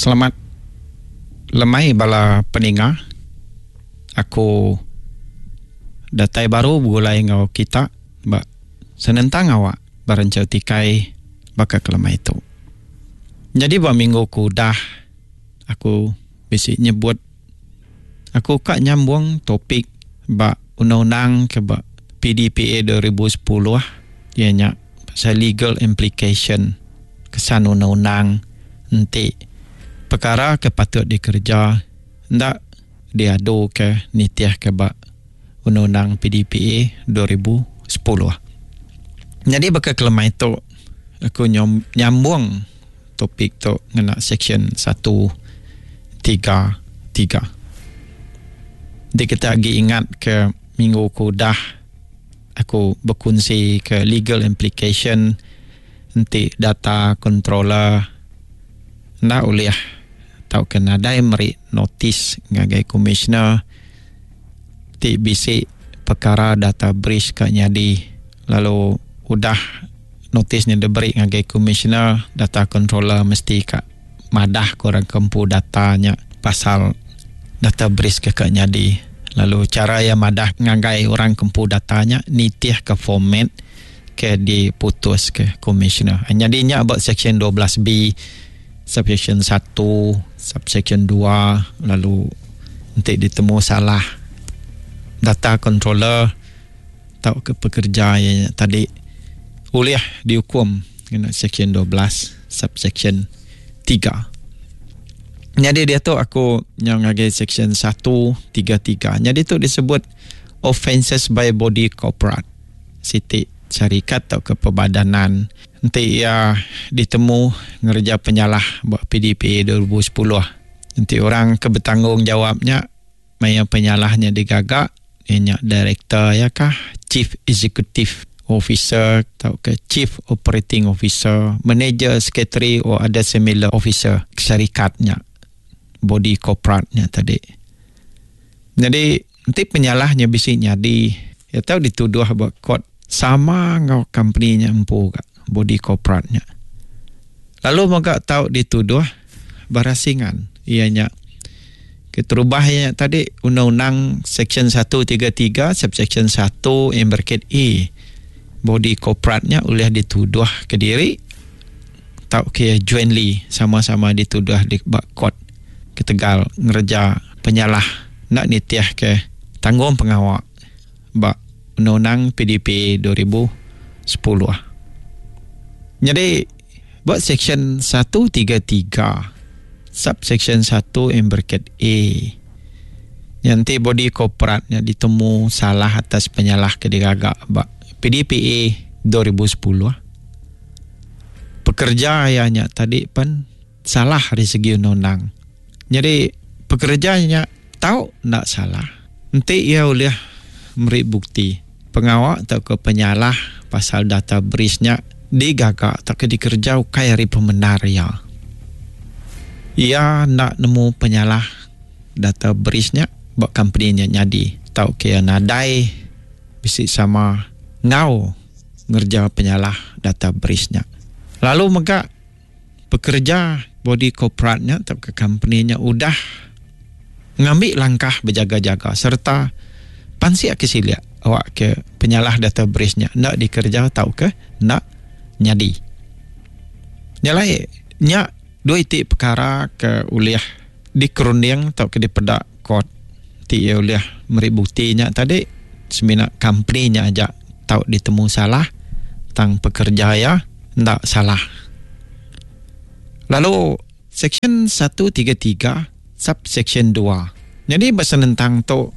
Selamat lemai bala peninga. Aku datai baru begulai enggau kita ba senentang awak ba renchau tikai baka ke lemai tu. Nyadi ba minggu ke udah aku bisi nyebut aku ka nyambung topik ba undang-undang ke ba PDPA 2010 iya nya pasal legal implication kesan undang-undang enti pekara ke patut dikereja enda diadu ke nitih ke ba undang-undang PDPA 2010. Nyadi baka ke lemai tu aku nyambung topik tu ngena seksyen satu tiga tiga. Enti kita agi ingat ke minggu ke udah aku bekunsi ke legal implication enti data controller enda ulih tauka nadai meri notis ngagai commissioner ti bisi pekara data breach ka nyadi lalu udah notis nya diberi ngagai commissioner data controller mesti ka madah ke orang ke empu data nya pasal data breach ke ka nyadi lalu chara iya madah ngagai orang ke empu data nya nitih ke format ke diputus ke commissioner. Nyadi nya ba section 12B subsection satu subsection dua lalu enti ditemu salah data controller tauka pekerja iya nya tadi ulih diukum ngena section 12 subsection tiga. Nyadi diatu aku nyau ngagai section satu tiga tiga. Nyadi tu disebut offences by body corporate siti syarikat tauka perbadanan enti iya ditemu ngereja penyalah ba PDPA 2010. Enti orang ke betanggungjawab nya maya penyalah nya digaga iya nya director iya kah, chief executive officer tauka chief operating officer, manager, secretary or other similar officer syarikat nya, body corporate nya tadi. Nyadi enti penyalah nya bisi nyadi iya tau dituduh ba court sama enggau company nya empu ga body corporate nya. Lalu mega tau dituduh berasingan iya nya keterubah iya nya tadi undang-undang section 133 subsection 1 in bracket A body corporate nya ulih dituduh kediri tauka iya jointly sama-sama dituduh di ba court ketegal ngereja penyalah enda nitih ke tanggung pengawa ba Undang-Undang PDPA 2010. Nyadi ba seksyen 133 subseksyen 1 in bracket A nya enti body korporat nya ditemu salah atas penyalah ke digaga ba PDPA 2010 pekerja iya nya tadi pen salah ari segi undang-undang. Nyadi pekereja nya tau enda salah enti iya ulih meri bukti pengawa tauka penyalah pasal data breach nya digaga tauka dikereja ukai ari pemendar iya. Iya enda nemu penyalah data breach nya ba kompeni nya nyadi tauka iya nadai bisi sama enggau ngereja penyalah data breach nya. Lalu mega Pekereja body korporat nya tauka kompeni nya udah ngambi langkah bejaga-jaga sereta pansik ke silik awakka penyalah data breach nya enda dikereja tauka enda nyadi. Nya alai nya dua iti pekara ke ulih dikerunding tauka dipeda court ti iya ulih meri bukti nya tadi semina kompeni nya aja tau ditemu salah tang pekerja iya enda salah. Lalu seksyen 133 subseksyen dua nyadi ba senentang tu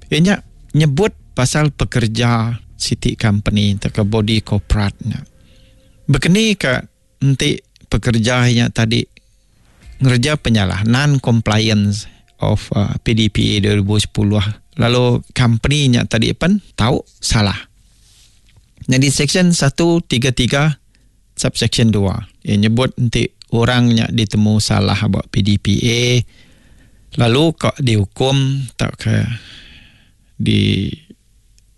iya nya nyebut pasal pekerja siti kompeni tauka body korporat nya. Bekeni ka enti pekerja iya tadi ngereja penyalah non compliance of PDPA 2010 lalu company nya tadi pen tau salah. Nyadi section 133 subsection 2 iya nyebut enti orang nya ditemu salah ba PDPA lalu ka diukum tauka di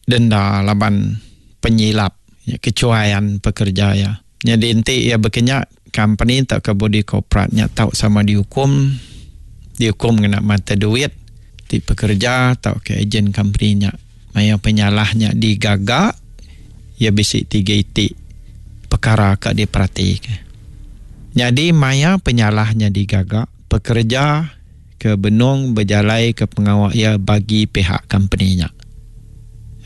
denda laban penyilap kecuaian pekerja iya. Nyadi enti iya baka nya. Company tauka body korporat nya tau sama diukum, diukum ngena mata duit ti pekereja tauka ejen company nya. Maya penyalah nya digaga, iya bisi tiga iti pekara ka diperatika. Nyadi maya penyalah nya digaga, pekereja ke benung bejalaika pengawa iya bagi pihak kompeni nya.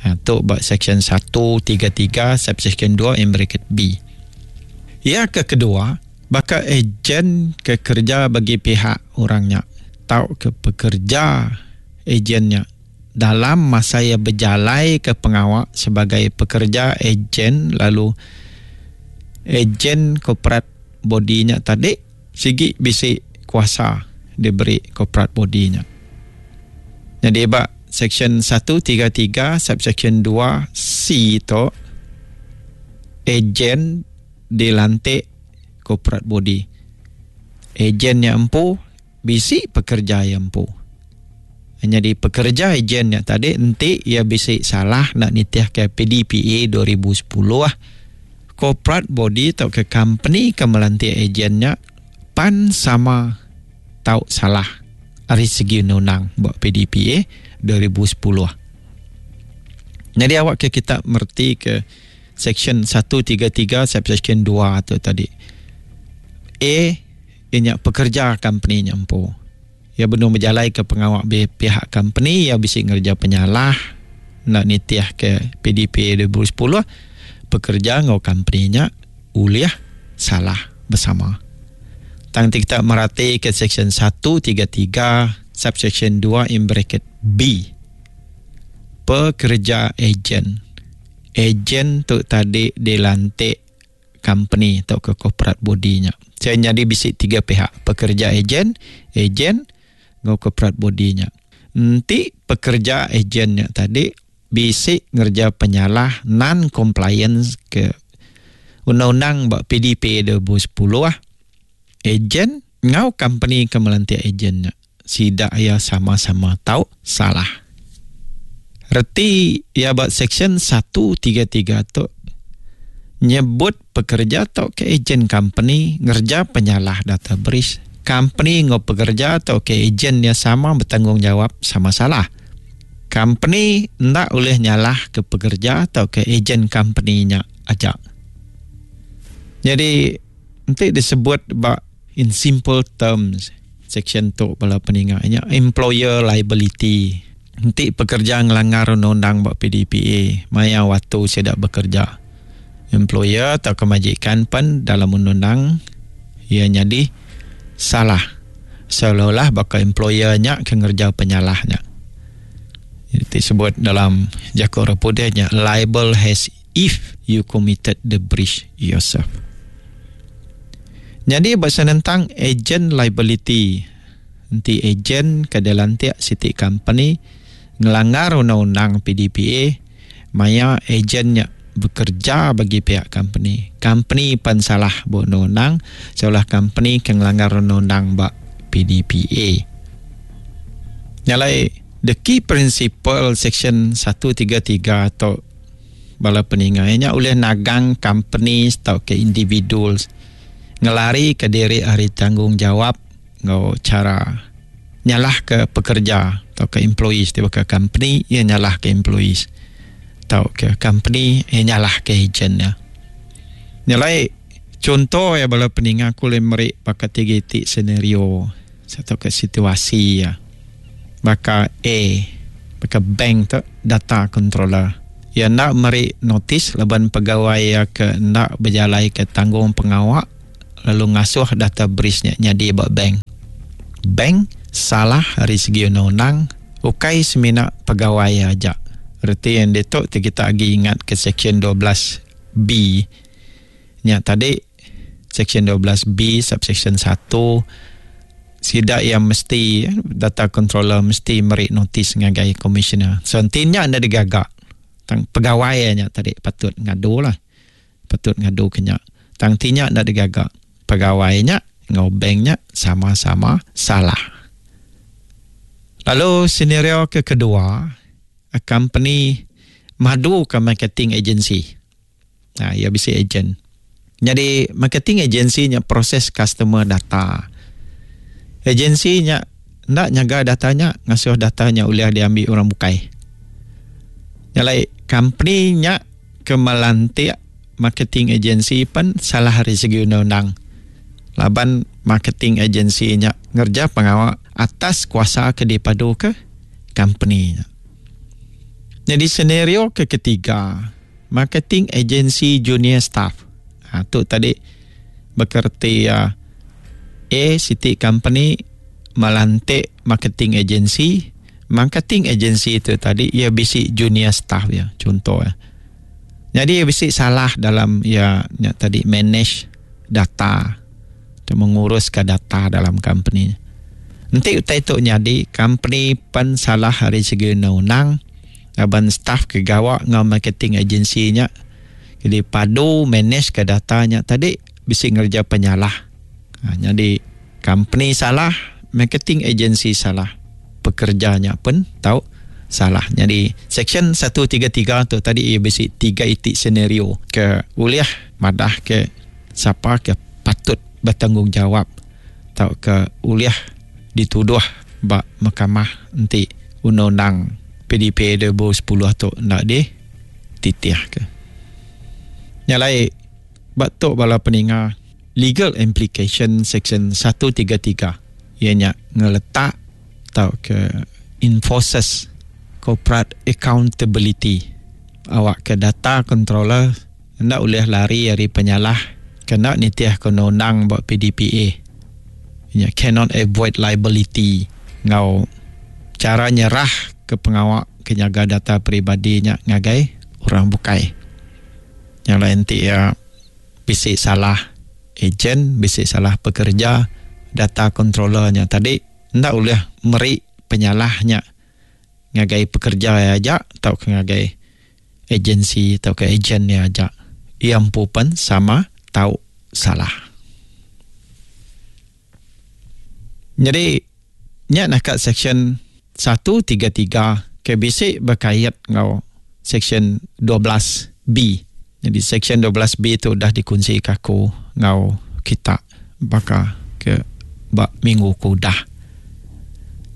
Ha, tu ba Seksyen 133 subseksyen 2 in bracket B. Iya ke kedua, baka ejen ke kereja bagi pihak orang nya tauka pekereja ejen nya dalam masa iya bejalaika pengawa sebagai pekereja ejen lalu ejen korporat body nya tadi sigi bisi kuasa diberi korporat body nya. Nyadi ba Seksyen 133 subseksyen 2 C tu ejen dilantik korporat body. Ejen nya empu bisi pekerja iya empu. Nyadi pekerja ejen nya tadi enti iya bisi salah enda nitihka PDPA 2010, corporate body tauka company ke melantik ejen nya pan sama tau salah ari segi undang-undang ba PDPA 2010. Nyadi awak ke kita mereti ke seksyen 133 subseksyen 2 tu tadi. A iya nya pekerja company nya empu. Iya benung bejalaika pengawa pihak kompeni iya bisi ngereja penyalah enda nitihka PDPA 2010, pekereja enggau kompeni nya ulih salah besama. Tang enti kita meratika Seksyen 133 subseksyen 2 in bracket B, pekereja ejen, ejen tu tadi dilantik company tauka corporate body nya. Saya nyadi bisi tiga pihak, pekerja ejen, ejen enggau corporate body nya. Enti pekerja ejen nya tadi bisi ngereja penyalah non compliance ke undang-undang ba PDPA 2010, ejen enggau company ke melantik ejen nya sida iya sama-sama tau salah. Reti iya ba Seksyen 133 tu nyebut pekereja tauka ejen kompeni ngereja penyalah data breach, kompeni enggau pekereja tauka ejen iya sama betanggungjawab sama salah. Kompeni enda ulih nyalahka pekereja tauka ejen kompeni nya aja. Nyadi enti disebut ba In simple terms, seksyen tu bala peninga nya employer liability. Enti pekerja ngelanggar undang-undang ba PDPA maya waktu sida bekerja, employer tauka majikan pen dalam undang-undang iya nyadi salah seolah-olah baka employer nya ke ngereja penyalah nya. Ti sebut dalam jaku orang putih nya liable as if you committed the breach yourself. Nyadi ba senentang agent liability, enti agent ke dilantik siti company ngelanggar undang-undang PDPA maya agent nya bekerja bagi pihak company, company pan salah ba undang-undang seolah company ke ngelanggar undang-undang ba PDPA. Nya alai the key principle section 133 tu Bala peninga iya nya ulih nagang companies tauka individuals ngelarika diri ari tanggungjawab enggau chara nyalahka pekerja tauka employees ti baka company iya nyalahka employees tauka company iya nyalahka ejen iya. Nya alai chunto iya bala peninga aku ulih meri baka tiga iti scenario tauka situasi iya. Baka A, baka bank tu data controller. Iya enda meri notis laban pegawai iya ke enda bejalaika tanggungpengawa lalu ngasuh data breach nya nyadi ba bank. Bank salah ari segi undang-undang ukai semina pegawai iya aja. Reti iya ditu ti kita agi ingat ke seksyen 12 B nya tadi, seksyen 12 B subseksyen 1, Sida iya mesti, data controller mesti meri notis ngagai commissioner. So enti nya enda digaga, tang pegawai iya nya tadi patut ngadu lah. Patut ngadu ke nya. Tang enti nya enda digaga, pegawai nya enggau bank nya sama-sama salah. Lalu senario ke kedua, a company madu ke marketing agency. Ha, iya bisi agent. Nyadi marketing agency nya proses customer data. Agensi nya enda nyaga data nya ngasuh data nya ulih diambi orang bukai. Nya alai company nya ke melantik marketing agency pen salah ari segi undang-undang laban marketing agency nya ngereja pengawa atas kuasa ke dipaduka company nya. Nyadi senario ke ketiga marketing agency junior staff. Ha, tu tadi bekerti ya A siti company melantik marketing agency. Marketing agency tu tadi ia bisi junior staff ya contoh ya. Jadi ia bisi salah dalam ia nya tadi manage data atau menguruskan data dalam company. Enti utai tu nyadi company pen salah ari segi undang-undang laban staff ke gawa enggau marketing agency nya jadi padu manage ke data nya tadi bisi ngereja penyalah. Ha, nyadi company salah, marketing agency salah, pekerja nya pun tau salah. Nyadi section 133 tu tadi ia bisi tiga iti senario ke ulih madah ke sapa ke patut bertanggungjawab tauka ulih dituduh ba mahkamah enti undang-undang PDPA 2010 tu enda dititihka. Nya alai ba tu bala peninga legal implication section 133 iya nya ngeletak tauka enforces corporate accountability awakka data controller Enda ulih lari ari penyalah ke enda nitihka undang-undang ba PDPA nya cannot avoid liability enggau chara nyerah ke pengawa ke nyaga data peribadi nya ngagai orang bukai. Nya alai enti iya bisi salah ejen, bisi salah pekereja, data controller nya tadi enda ulih meri penyalah nya ngagai pekereja iya aja tauka ngagai agensi tauka ejen iya aja. Iya empu pen sama tau salah. Nyadi nya naka seksyen 133 ke bisi bekait enggau seksyen 12 B. Nyadi seksyen 12 B tu udah dikunsika aku enggau kita baka ke ba minggu ke udah.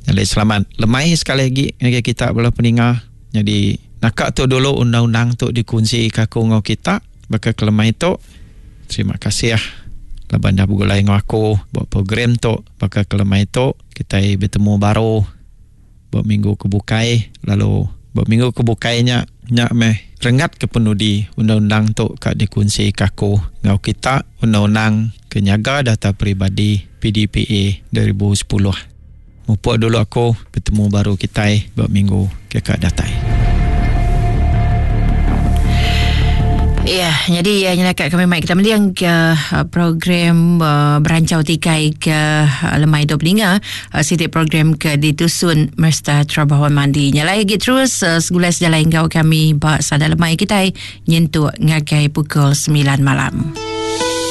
Nyadi selamat lemai sekali agi ngagai kita bala peninga. Nyadi naka tu dulu undang-undang tu dikunsi ka aku enggau kita baka ke lemai tu. Terima kasih laban dah begulai enggau aku ba program tu baka ke lemai tu. Kitai betemu baru ba minggu ke bukai lalu ba minggu ke bukai nya nya meh renggat ke penudi undang-undang tu ka dikunsi ka aku enggau kita undang-undang ke nyaga data peribadi PDPA 2010. Mupuk dulu aku, betemu baru kitai ba minggu ke ka datai. Ya, jadi ya nyelaka kami mai kita mending ke uh, program uh, berancau tikai ke uh, lemai tu peninga uh, siti program ke ditusun Mersta Trabawan Mandi. Nyalai lagi terus uh, segulai sejalai enggau kami ba sada lemai kitai nyentuk ngagai pukul 9 malam.